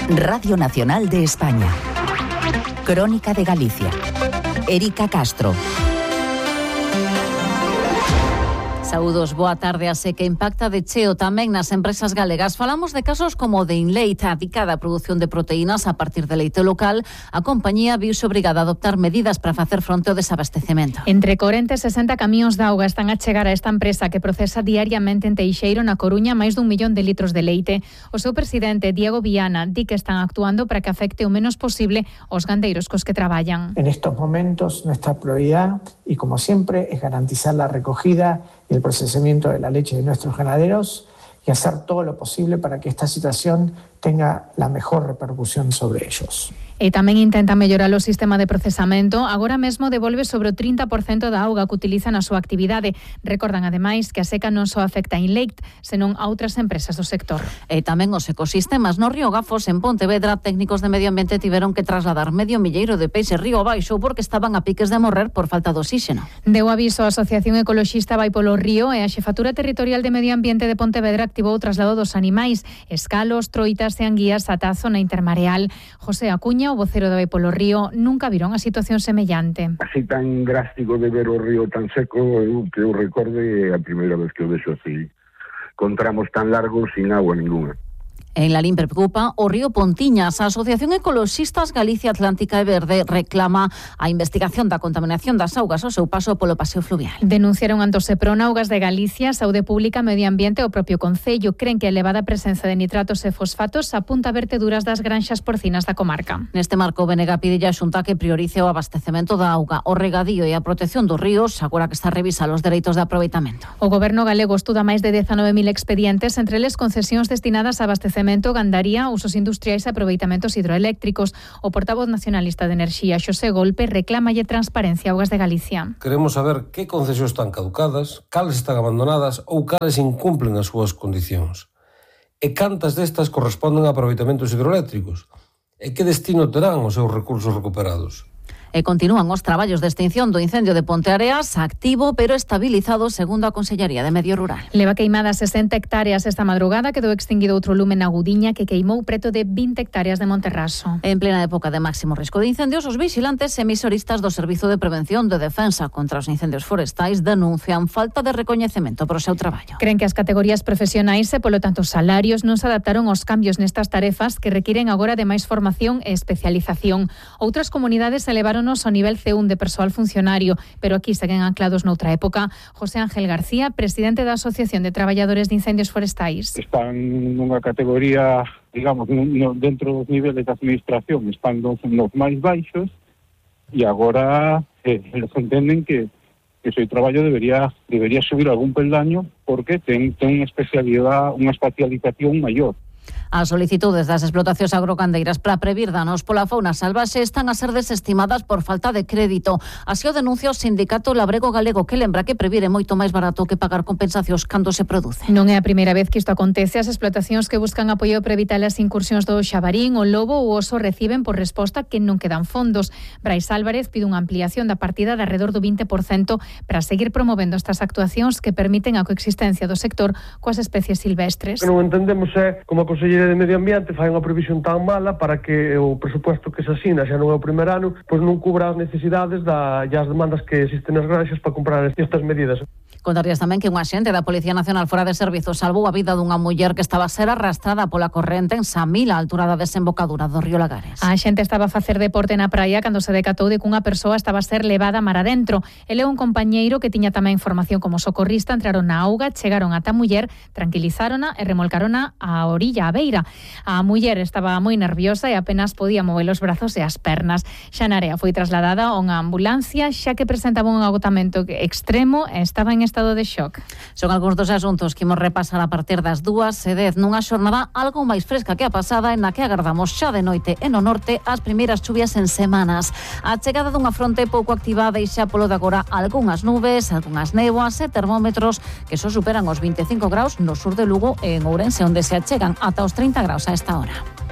Radio Nacional de España. Crónica de Galicia. Erika Castro. Saúdos, boa tarde. A seca impacta de cheo tamén nas empresas galegas. Falamos de casos como de Inleite, dedicada á produción de proteínas a partir de leite local. A compañía viuse obrigada a adoptar medidas para facer fronte ao desabastecemento. Entre 40 e 60 camións de auga están a chegar a esta empresa que procesa diariamente en Teixeiro, na Coruña, máis dun millón de litros de leite. O seu presidente, Diego Viana, di que están actuando para que afecte o menos posible aos gandeiros cos que traballan. En estos momentos, nuestra prioridad, y como siempre, es garantizar la recogida y el procesamiento de la leche de nuestros ganaderos y hacer todo lo posible para que esta situación tenga la mejor repercusión sobre ellos. E tamén intenta mellorar o sistema de procesamento. Agora mesmo devolve sobre o 30% da auga que utiliza na súa actividade. Recordan ademais que a seca non só afecta a Inleite, senón a outras empresas do sector. E tamén os ecosistemas no río Gafos, en Pontevedra, técnicos de medio ambiente tiveron que trasladar medio milleiro de peixes río abaixo porque estaban a piques de morrer por falta de oxígeno. Deu aviso a Asociación Ecoloxista Vai polo Río e a Xefatura Territorial de Medio Ambiente de Pontevedra activou o traslado dos animais, escalos, troitas e anguías ata a zona intermareal. José Acuña, o vocero de Vai polo Río, nunca viron a situación semellante. Así tan drástico de ver o río tan seco, que eu recorde a primeira vez que o vexo así, con tramos tan largos sin agua ninguna. En Lalín preocupa o río Pontiñas. A Asociación Ecoloxistas Galicia Atlántica e Verde reclama a investigación da contaminación das augas ao seu paso polo paseo fluvial. Denunciaron ante o Seprona, Augas de Galicia, Saúde Pública, Medio Ambiente e o propio Concello. Creen que a elevada presenza de nitratos e fosfatos apunta a verteduras das granxas porcinas da comarca. Neste marco, Benega pide a Xunta que priorice o abastecemento da auga, o regadío e a protección dos ríos, agora que está a revisar os dereitos de aproveitamento. O Goberno galego estuda máis de 19.000 expedientes, entre eles concesións destinadas a abastecemento, gandaría, usos industriais e aproveitamentos hidroeléctricos. O portavoz nacionalista de Enerxía, Xosé Golpe, reclámalle transparencia a Augas de Galicia. Queremos saber que concesións están caducadas, cales están abandonadas ou cales incumplen as súas condicións. E cantas destas corresponden a aproveitamentos hidroeléctricos? E que destino terán os seus recursos recuperados? E continúan os traballos de extinción do incendio de Ponteareas, activo pero estabilizado segundo a Consellería de Medio Rural. Leva queimadas 60 hectáreas esta madrugada, quedou extinguido outro lume na Gudiña que queimou preto de 20 hectáreas de Monterraso. En plena época de máximo risco de incendios, os vixilantes e emisoristas do Servizo de Prevención de Defensa contra os Incendios Forestais denuncian falta de recoñecemento para o seu traballo. Creen que as categorías profesionais e, polo tanto, os salarios non se adaptaron aos cambios nestas tarefas que requiren agora de máis formación e especialización. Outras comunidades elevaron ao nivel C1 de persoal funcionario, pero aquí seguen anclados noutra época. José Ángel García, presidente da Asociación de Traballadores de Incendios Forestais. Están nunha categoría, digamos, dentro dos niveles de administración, están nos máis baixos e agora eles entenden que o seu traballo debería subir algún peldaño porque ten unha especialidade, unha especialización maior. As solicitudes das explotacións agrogandeiras para previr danos pola fauna salvaxe están a ser desestimadas por falta de crédito. Así o denuncia o sindicato Labrego Galego, que lembra que previr é moito máis barato que pagar compensacións cando se produce. Non é a primeira vez que isto acontece. As explotacións que buscan apoio para evitar as incursións do xabarín, o lobo ou o oso reciben por resposta que non quedan fondos. Brais Álvarez pide unha ampliación da partida de alrededor do 20% para seguir promovendo estas actuacións que permiten a coexistencia do sector coas especies silvestres. Que non entendemos é como a Consellería de Medio Ambiente fai unha previsión tan mala para que o presupuesto que se asina xa non é o primer ano, pois non cubra as necesidades e as demandas que existen nas granxas para comprar estas medidas. Contarías tamén que un axente da Policía Nacional fora de servizo salvou a vida dunha muller que estaba a ser arrastrada pola corrente en Samil, á altura da desembocadura do río Lagares. A xente estaba a facer deporte na praia cando se decatou de que unha persoa estaba a ser levada mar adentro. Ele é un compañeiro que tiña tamén formación como socorrista, entraron na auga, chegaron ata a muller, tranquilizárona e remolcarona á orilla, á beira. A muller estaba moi nerviosa e apenas podía mover os brazos e as pernas. Xa na area foi trasladada a unha ambulancia xa que presentaba un agotamento extremo e estaba en estado de shock. Son algúns dos asuntos que imos repasar a partir das 2:10 nunha xornada algo máis fresca que a pasada, en na que agardamos xa de noite e no norte as primeiras chuvias en semanas. A chegada dunha fronte pouco activada e xa polo de agora algunhas nubes, algunhas néboas e termómetros que só superan os 25 graus no sur de Lugo e en Ourense, onde se achegan ata os 30 graus a esta hora.